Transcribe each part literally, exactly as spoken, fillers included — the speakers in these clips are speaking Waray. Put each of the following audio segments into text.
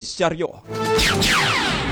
Benepisyaryo.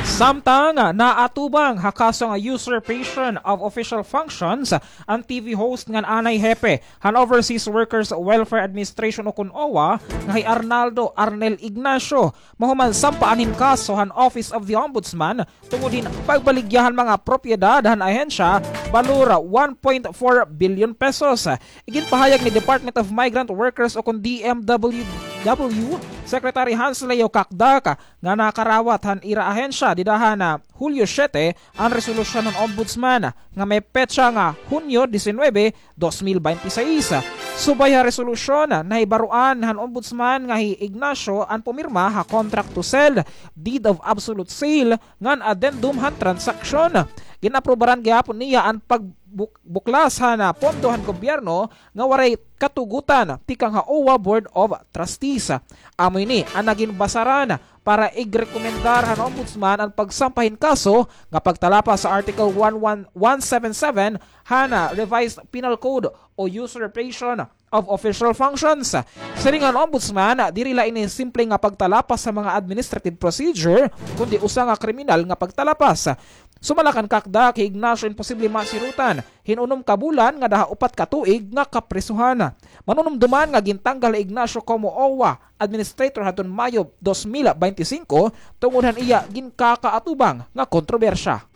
Samtang naatubang ha kaso nga usurpation of official functions an T V host ngan anay hepe han Overseas Workers Welfare Administration ukon OWWA nga hi Arnaldo Arnel Ignacio, mahuman sampaan hin kaso han Office of the Ombudsman tungod hin pagbaligya han mga propiedad han ahensya, balor one point four billion pesos. Iginpahayag ni Department of Migrant Workers ukon D M W W Secretary Hans Leo Cacdac nga nakarawat han ira ahensya dida han Hulyo siyete an resolusyon han Ombudsman nga may petsa nga Hunyo disinuybe, dos mil bente seis. Subay ha resolusyon, nahibaroan han Ombudsman nga hi Ignacio an pumirma ha contract to sell, deed of absolute sale, ngan addendum han transaksyon. Gin-aprobaran gihapon niya an pagbuk-, buklas han pondo han gobyerno nga waray katugutan tikang ha OWWA Board of Trustees. Amo ini an nagin basaran para igrekomendar han Ombudsman an pagsampa hin kaso nga pagtalapas sa Article one one, one seven seven han Revised Penal Code o usurpation of official functions. Siring han Ombudsman, diri la ini simple nga pagtalapas sa mga administrative procedure, kundi usa nga kriminal nga pagtalapas. Sumala kan Cacdac, hi Ignacio imposible masirutan hin unom ka bulan ngada ha upat ka tuig nga kaprisohan. Manunumduman nga gintanggal hi Ignacio komo OWWA administrator hadton Mayo dos mil bente singko tungod han iya ginkakaatubang nga kontrobersya.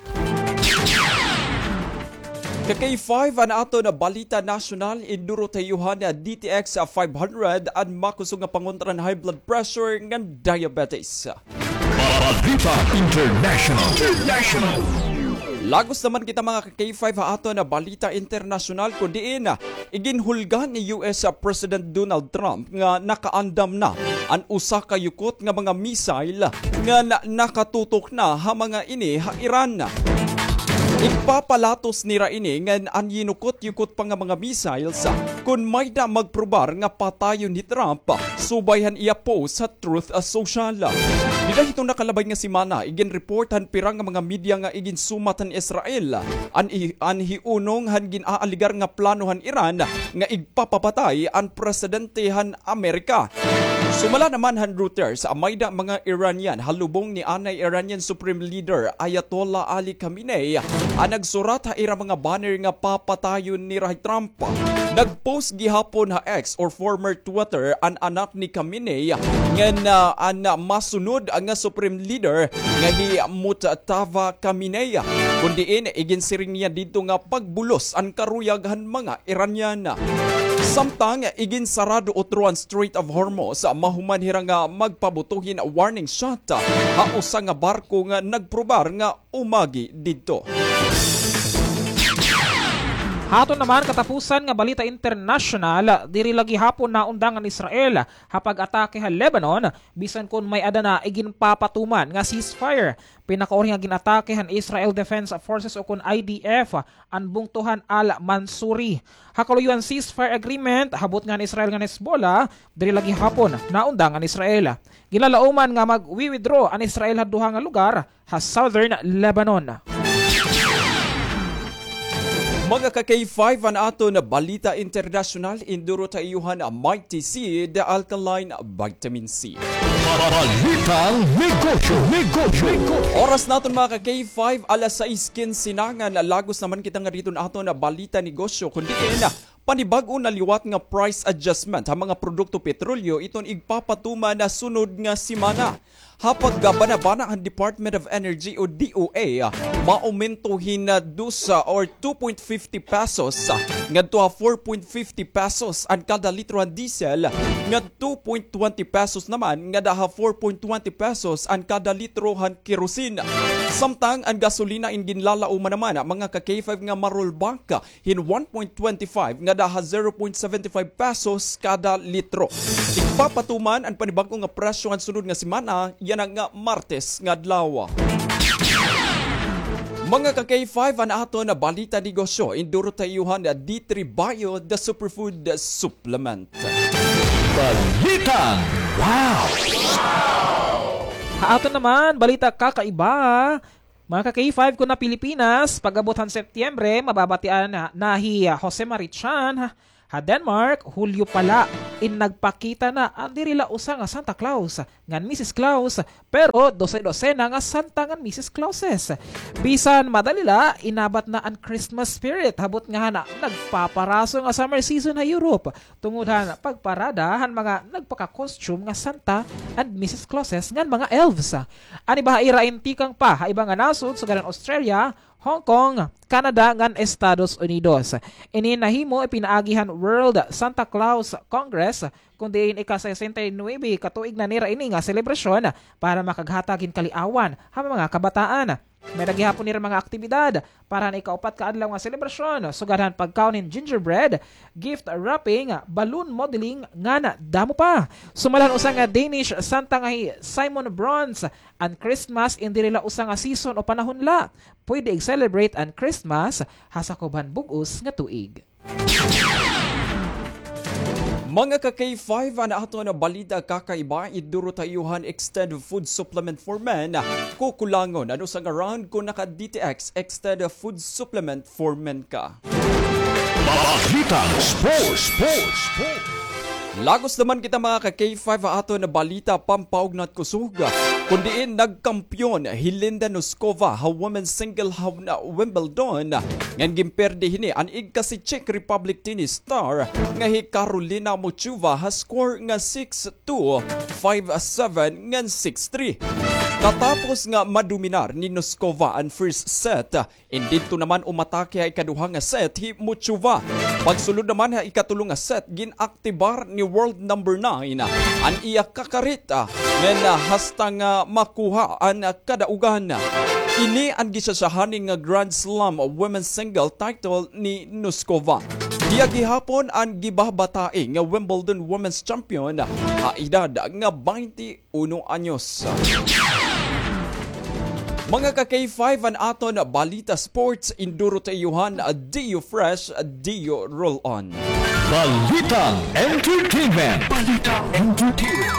Ka K five, an aton balita nasyonal, induro ta iyo han D T X five hundred, an makusog nga pangontra han high blood pressure ngan diabetes. Balita International. International. Lagos naman kita, mga ka K five, ha aton balita internasyonal, kun diin iginhulga ni U S President Donald Trump nga nakaandam na an usa ka yukot nga mga missile nga na-, nakatutok na ha mga ini ha Iran. Igpapalatos nira ini ngan an yinukot-yukot pa nga mga missiles kun may-ada magprobar nga patayon hi Trump, subay han iya post ha Truth Social. Dida hiton nakalabay nga semana, iginreport han pira nga mga media nga iginsumat han Israel an i-, an hiunong han gin-aaligar nga plano han Iran nga igpapapatay an presidente han Amerika. Sumala naman han Reuters, may-ada mga Iranian ha lubong ni anay Iranian Supreme Leader Ayatollah Ali Khamenei an nagsurat ha ira mga banner nga papatayon nira hi Trump. Nag-post gihapon ha X or former Twitter an anak ni Khamenei ngan, ah, an masunod nga Supreme Leader nga hi Mujtaba Khamenei, kun diin iginsiring niya didto nga pagbulos an karuyag han mga Iranian. Samtang iginsarado utro an Strait of Hormuz, mahuman hira nga magpabuto hin warning shot ha usa nga barko nga nagprobar nga umagi didto. Ha aton naman katapusan nga balita internasyonal, diri la gihapon naundang an Israel ha pag-atake ha Lebanon, bisan kon may-ada na iginpapatuman nga ceasefire. Pinakauri nga gin-atake han Israel Defense Forces ukon I D F an bungto han Al-Mansuri. Ha kaluyo han ceasefire agreement, habot nga han Israel ngan Hezbollah, diri la gihapon naundang an Israel. Ginlalauman nga magwi-withdraw an Israel ha duha nga lugar ha southern Lebanon. Mga ka K five, an aton balita internasyonal, induro ta iyo han Mighty Seed Alkaline Vitamin C. Balitang negosyo, negosyo, negosyo. Oras naton, mga ka K five, alas sais kinse na ngan lagos naman kita ngadi hiton aton balita negosyo, kun diin panibag-o na liwat nga price adjustment ha mga produkto petrolyo iton igpapatuman ha sunod nga semana. Ha pagbanabana han Department of Energy o D O E, maumento hin, ah, dos, ah, or two point fifty pesos, ah, ngadto ha four point fifty pesos an kada litro han diesel, ngan two point twenty pesos naman ngada ha four point twenty pesos an kada litro han kerosene. Samtang an gasolina in ginlalauman naman, ah, mga ka K five, nga ma-rollback hin one point twenty five ngada ha zero point seventy five pesos kada litro. Igpapatuman an panibag-o nga presyo han sunod nga semana, yana nga Martes nga adlaw. Mga ka K five, an aton balita negosyo, induro ta iyo han D three Bio, the superfood supplement. Balitang wow! Ha aton naman balita kakaiba, mga ka K five, kon ha Pilipinas, pag-abot han Setyembre, mababatian na, na hi, ah, Jose Marichan, ha, Ha Denmark, Hulyo pa la in nagpakita na an diri la usa nga Santa Claus ngan Missus Claus, pero dose-dosena nga santa ngan Missus Clauses. Bisan madali la, inabat na an Christmas spirit, ha butnga han nagpaparaso nga summer season ha Europe, tungod han pagparada han mga nagpaka-costume nga Santa and Missus Clauses ngan mga elves. An iba ha ira in tikang pa ha iba nga nasod, sugad han Australia, Hong Kong, Canada, ngan Estados Unidos. Ini nahimo pinaagi han World Santa Claus Congress, kun diin ika-sesenta y nuebe ka tuig na nira ini nga selebrasyon para makaghatag hin kaliawan ha mga kabataan. May-ada gihapon nira mga aktibidad para han ikaupat ka adlaw nga selebrasyon, sugad han pagkaon hin gingerbread, gift wrapping, balloon modeling, ngan damo pa. Sumala han usa nga Danish santa nga hi Simon Brons, an Christmas in diri la usa nga season o panahon la. Pwede ig-celebrate an Christmas ha sakob han bug-os nga tuig. Mga ka-K five, an aton balita kakaiba, iduro ta iyo han Extended Food Supplement for Men. Kukulangon an usa nga round kon naka-D T X Extended Food Supplement for Men ka. Balitang Sports, Sports, Sports. Lagos naman kita, mga ka-K five, ha aton balita pampaugnat kusog, kun diin nagkampeon hi Linda Noskova ha women's single ha Wimbledon, ngan ginperde hini an igka si Czech Republic tennis star nga hi Karolina Muchova ha score nga six two, five seven, ngan six three. Katapos nga madominar ni Noskova an first set, in didto naman umatake ha ikaduha nga set hi Muchova. Pagsulod naman ha ikatulo nga set, gin-aktibar ni world number nine an iya kakareta ngan hasta nga makuha an kadaugan. Ini an gisyasyahani nga Grand Slam women's single title ni Noskova. Iya gihapon an gibahbatai nga Wimbledon women's champion ha edad nga baynte uno anyos. Mga ka-K five, an aton balita sports, induro ta iyo han Dio Fresh, Dio Roll On. Balitang entertainment. Balitang entertainment.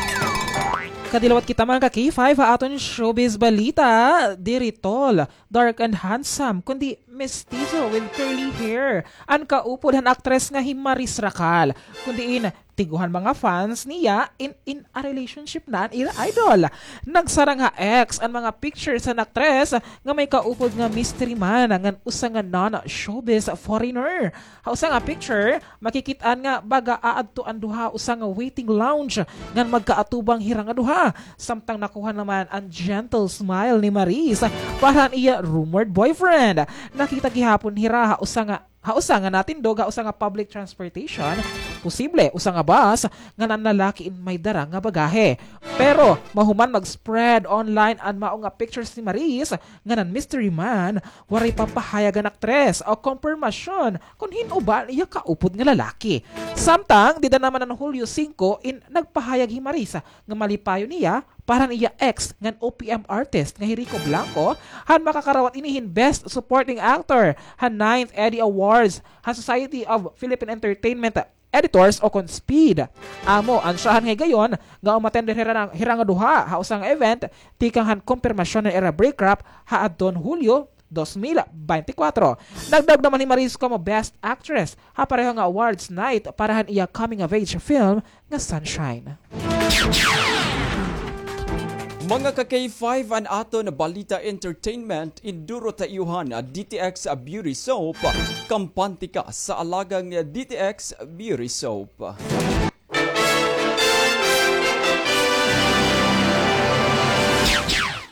Kadilawat kita, mga ka-K five, ha aton showbiz balita. Diri tall, dark and handsome, kundi mestizo with curly hair an kaupod han aktres nga hi Maris Racal. Kun diin, tiguhan mga fans niya in, in a relationship na an ira idol. Nagsarang ha X an mga pictures han aktres nga may kaupod nga mystery man ngan usa nga non-showbiz foreigner. Ha usa nga picture, makikit-an nga baga aadto an duha ha usa nga waiting lounge ngan magkaatubang hira nga duha. Samtang nakuha naman an gentle smile ni Maris para han iya rumored boyfriend. Nakita gihapon hira ha usa nga ha usa nga natindog ha usa nga public transportation, posible usa nga bus, ngan an lalaki in may dara nga bagahe. Pero mahuman mag-spread online an mao nga pictures ni Maris ngan an mystery man, waray pa pahayag an aktres o kompirmasyon kon hin-o ba an iya kaupod nga lalaki. Samtang dida naman an Hulyo singko in nagpahayag hi Maris nga malipayon niya para han iya ex ngan O P M artist nga hi Rico Blanco han makakarawat ini hin Best Supporting Actor han ninth Eddie Awards han Society of Philippine Entertainment Editors o kon SPEED. Amo an syahan nga higayon nga umattend hira, hira nga duha ha usa nga event tikang han kompirmasyon han ira breakup ha adton Hulyo dos mil beintikwatro. Dagdag naman hi Maris komo Best Actress ha pareho nga awards night para han iya coming of age film nga Sunshine. Mga ka-K five, an aton balita entertainment, induro ta iyo han D T X Beauty Soap, kampante ka sa alagang D T X Beauty Soap.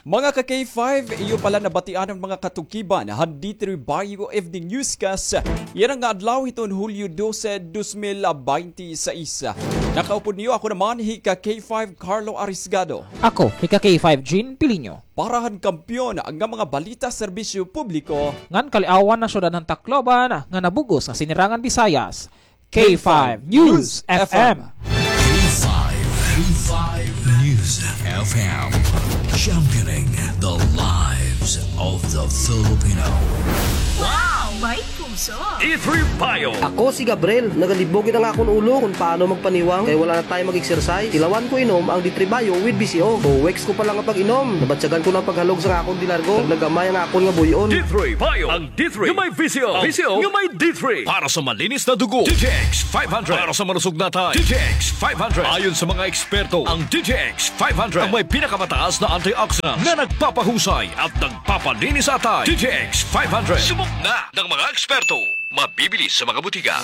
Mga ka-K five, iyo pala nabatian an mga katukiban han D three Baguio Evening Newscast yana nga adlaw hiton Hulyo dose, dos mil baynte sais. Nakaupod niyo ako naman hi ka-K five Carlo Arisgado. Ako hi ka-K five Jean Piliño. Para han kampiyon nga mga balita, serbisyo publiko, ngan kaliawan han syudad han Tacloban nga nabug-os nga sinirangan Bisayas. K five News F M. K five, K five News F M, championing the lives of the Filipino. Wow! May puso. D three Bio. Ako si Gabriel. Nagalibog gid an akon ulo kon paano magpaniwang kay wala na tayo mag-exercise. Tilawan ko inom ang D three Bio with B C O. Two weeks ko pa lang nga pag-inom, nabatyagan ko na an paghalog sa akon de largo. Naggamay ang akon nga buy-on. D three Bio. Ang D three nga may B C O. B C O nga may D three. Para sa malinis na dugo, D T X five hundred. Para sa malusog na atay, D T X five hundred. Ayon sa mga eksperto, ang D T X five hundred ang may pinakamataas na antioxidant na nagpapahusay at nagpapalinis sa atay. D T X five hundred. Subok na ng mga eksperto. Mabibili sa mga butika.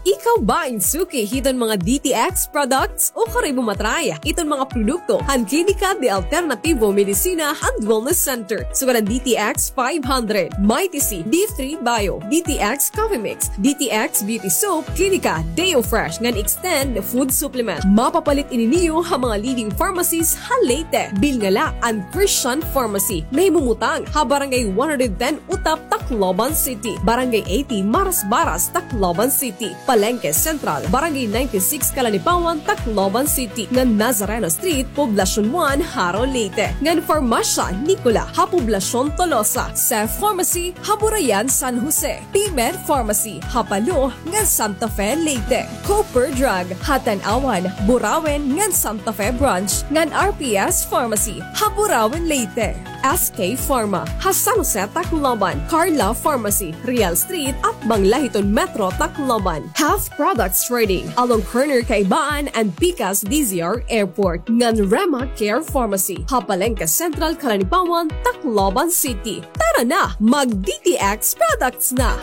Ikaw ba in suki hiton mga D T X products? Ukar ibo matry iton mga produkto han Klinika de Alternativo Medicina and Wellness Center. Sugad an D T X five hundred, Mighty C, D three Bio, D T X Coffee Mix, D T X Beauty Soap, Klinika Deo Fresh ngan Extend Food Supplement. Mapapalit ini niyo ha mga leading pharmacies ha Leyte. Bilin la an Christian Pharmacy, nahimumutang ha Barangay one hundred ten Utap, Tacloban City, Barangay eighty Marasbaras, Tacloban City, Palenque Central, Barangay ninety-six Calanipawan, Tacloban City, ngan Nazareno Street, Poblacion one, Jaro, Leyte, ngan Farmacia Nicola ha Poblacion Tolosa, Seth Pharmacy ha Burayan, San Jose, P-Med Pharmacy ha Palo ngan Santa Fe, Leyte, Cooper Drug ha Tanauan, Burauen ngan Santa Fe Branch, ngan R P S Pharmacy ha Burauen, Leyte. S K Pharma ha San Jose, Tacloban, Carla Pharmacy, Real Street, atbang la hiton Metro Tacloban, Health Products Trading along corner Kaibaan and Pikas D Z R Airport, ngan Rema Care Pharmacy ha Palenque Central, Calanipawan, Tacloban City. Tara na, mag D T X products na!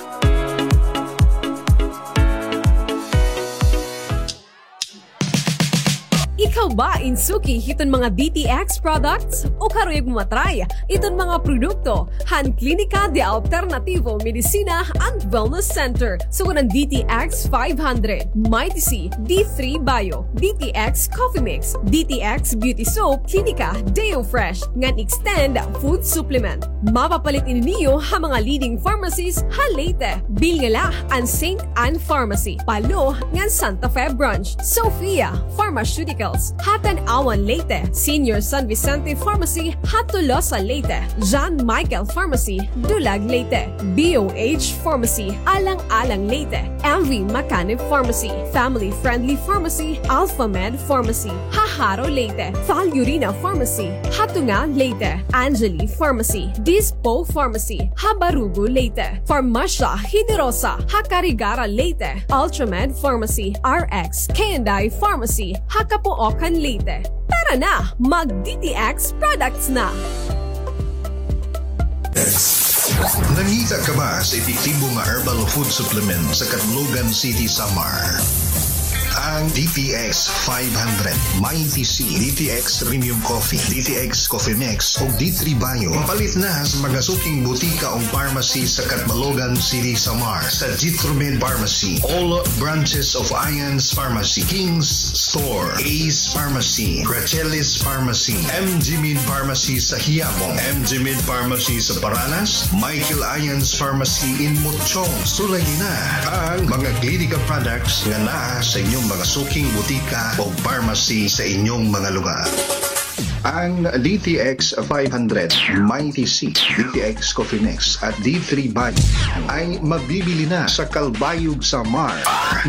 Ikaw ba in suki hiton mga D T X products? Ukar uyag mo matry iton mga produkto han Klinika de Alternativo Medicina and Wellness Center? Sugad an D T X five hundred, Mighty C, D three Bio, D T X Coffee Mix, D T X Beauty Soap, Klinika Deo Fresh, ngan Extend Food Supplement. Mapapalit ini niyo ha mga leading pharmacies ha Leyte. Bilin la an Saint Anne Pharmacy, Palo, ngan Santa Fe Branch, Sophia Pharmaceuticals ha Tanauan, Leyte, Senior San Vicente Pharmacy ha Tolosa, Leyte, John Michael Pharmacy, Dulag, Leyte, B O H Pharmacy, Alang-alang, Leyte, M V Macanib Pharmacy, Family Friendly Pharmacy, Alphamed Pharmacy ha Jaro, Leyte, Valurina Pharmacy ha Tunga, Leyte, Angeli Pharmacy, Dispo Pharmacy ha Barugo, Leyte, Farmacia Generosa ha Carigara, Leyte, Ultramed Pharmacy, R X K and I Pharmacy ha Capoocan, Leyte. Tara na, mag D T X products na! Nangita ka ba sa epektibo nga herbal food supplement sa Catbalogan City, Samar? Ang D T X five hundred, Mighty C, D T X Premium Coffee, D T X Coffee Mix, ug D three Bio. Mapalit na sa mga suking butika o pharmacy sa Catbalogan City, Samar, sa Jitromed Pharmacy, all branches of Ian's Pharmacy, King's Store, Ace Pharmacy, Gracelis Pharmacy, M G Med Pharmacy sa Quiapo, M G Med Pharmacy sa Paranas, Michael Ian's Pharmacy in Mutchong. Sulayi na ang mga Klinika products nga naa sa inyong mga suking butika o pharmacy sa inyong mga lugar. Ang D T X five hundred, Mighty C, D T X Coffee Mix, at D three Bio ay mabibili na sa Calbayog, Samar.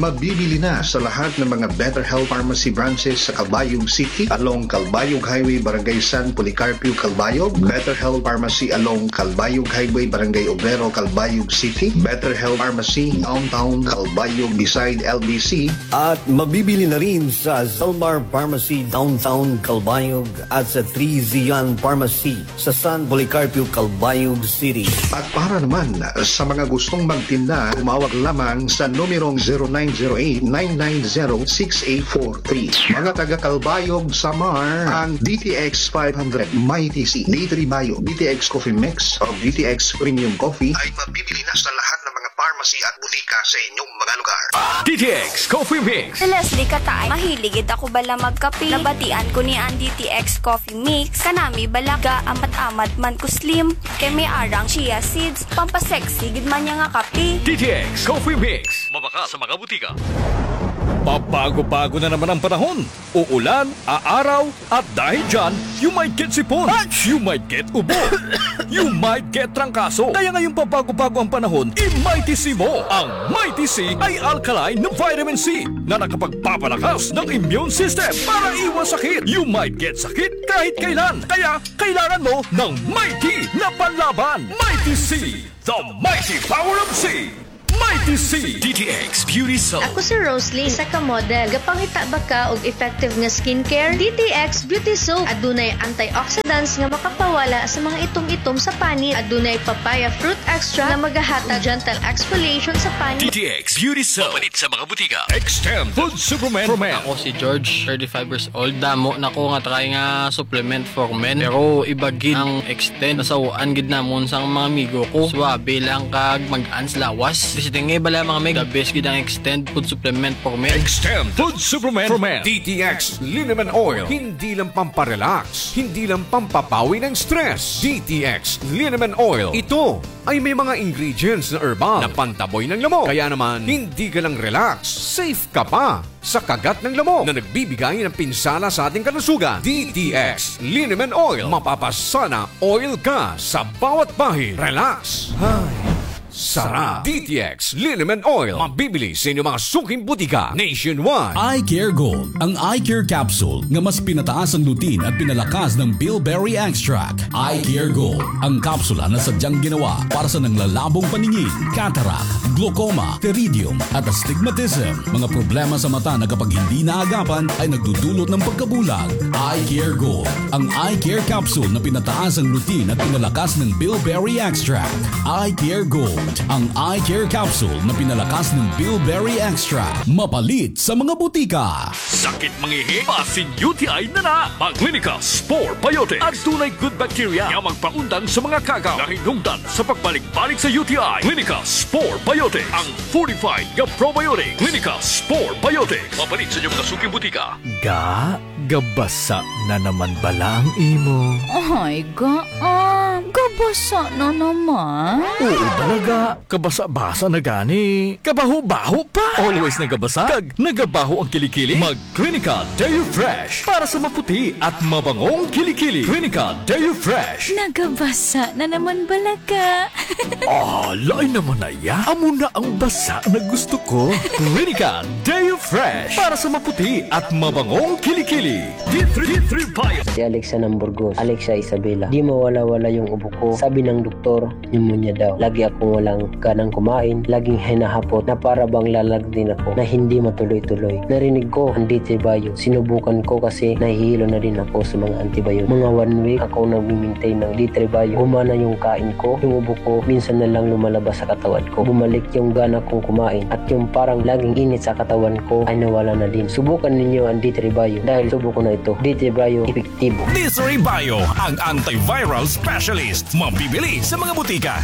Mabibili na sa lahat ng mga Better Health Pharmacy branches sa Calbayog City, along Calbayog Highway, Barangay San Policarpio, Calbayog, Better Health Pharmacy along Calbayog Highway, Barangay Obrero, Calbayog City, Better Health Pharmacy Downtown Calbayog beside L B C, at mabibili na rin sa Zalmar Pharmacy Downtown Calbayog at sa Three Zion Pharmacy sa San Policarpio, Calbayog City. At para naman sa mga gustong magtinda, tumawag lamang sa numerong zero nine zero eight, nine nine zero, six eight four three. Mga taga Calbayog, Samar, ang D T X five hundred, Mighty C, D three Bio, D T X Coffee Mix, o D T X Premium Coffee ay mabibili na sa lahat ng mga pharmacy at butika sa inyong mga lugar. D T X Coffee Mix. Si Leslie Kataay, mahilig gid ako bala magkape. Nabatian ko ni an D T X Coffee Mix. Kanami bala, gaamat-amat man ko slim. Kay may arang chia seeds, pampasexy gid man niya nga kape. D T X Coffee Mix. Mabakal sa mga butika. Pabago-bago na naman ang panahon. Uulan, aaraw, at dahil dyan, you might get sipon. You might get ubo. You might get trangkaso. Kaya ngayong pabago-bago ang panahon, i-Mighty C mo. Ang Mighty C ay alkaline na vitamin C na nakapagpapalakas ng immune system para iwas sakit. You might get sakit kahit kailan. Kaya kailangan mo ng Mighty na panlaban. Mighty C, the mighty power of C. Mighty C. D T X Beauty Soap. Ako si Rosalie, isa ka model. Gapangita ba ka og effective nga skincare? D T X Beauty Soap. Adunay antioxidants nga makapawala sa mga itom-itom sa panit. Adunay papaya fruit extract nga magahatag gentle exfoliation sa panit. D T X Beauty Soap. Mapalit sa mga butika. Extend Food Supplement for Men. Ako si George, thirty-five years old. Damo na ko nga try nga supplement for men. Pero iba gid ang Extend. Nasaw-an gid namon sang mga amigo ko. Suabe lang kag mag-ans lawas. Basta nga bala, mga meg, the best gid ang Extend Food Supplement for Men. Extend Food Supplement for Men. D T X Liniment Oil. Hindi lang pamparelax, hindi lang pampapawi ng stress. D T X Liniment Oil. Ito ay may mga ingredients na herbal na pantaboy ng lamok. Kaya naman, hindi ka lang relax, safe ka pa sa kagat ng lamok na nagbibigay ng pinsala sa ating kalusugan. D T X Liniment Oil. Mapapasana oil ka sa bawat bahid. Relax. Ay, sarap. D T X Liniment Oil. Mabibili sa inyong mga suking butika nationwide. Eye Care Gold, ang eye care capsule nga mas pinataas ang lutein at pinalakas ng bilberry extract. Eye Care Gold, ang kapsula na sadyang ginawa para sa nanglalabong paningin, cataract, glaucoma, pterygium, at astigmatism. Mga problema sa mata na kapag hindi naagapan ay nagdudulot ng pagkabulag. Eye Care Gold, ang eye care capsule na pinataas ang lutein at pinalakas ng bilberry extract. Eye Care Gold, ang eye care capsule na pinalakas ng bilberry extract. Mapalit sa mga butika. Sakit mangihi, basin U T I na na. Mag Clinica Spore Biotics. Adunay good bacteria nga magpaundang sa mga kagaw nga hinungdan sa pagbalik-balik sa U T I. Clinica Spore Biotics, ang fortified nga probiotic. Clinica Spore Biotics. Mapalit sa inyong mga suking butika. Ga, gabasa na naman bala ang imo? Ay, ga, ah, gabasa na naman. Oo bala, ga. Kabasa-basa na gani. Kabaho-baho pa. Always nagabasa. Kag nagabaho ang kilikili. Mag Clinica Deo Fresh para sa maputi at mabangong kilikili. Clinica Deo Fresh. Nagabasa na naman bala ka. Ah, lain naman na iya. Amo na ang basa na gusto ko. Clinica Deo Fresh para sa maputi at mabangong kilikili. D three, D three Bio. Si Alexa ng Burgos, Alexa Isabela. Di mawala-wala yung ubo ko. Sabi ng doktor, pneumonia daw. Lagi akong walang ganang kumain, laging hinahapot na para bang lalagdin ako na hindi matuloy-tuloy. Narinig ko ang D three Bio. Sinubukan ko kasi nahihilo na din ako sa mga antibiotic. Mga one week ako nagmi-maintain ng D three Bio. Gumana yung kain ko, yung ubo ko, minsan na lang lumalabas sa katawan ko. Bumalik yung gana kong kumain at yung parang laging init sa katawan ko ay nawala na din. Subukan ninyo ang D three Bio dahil subo ko na ito. D three Bio, epektibo. D three Bio, ang antiviral specialist. Mabibili sa mga butika.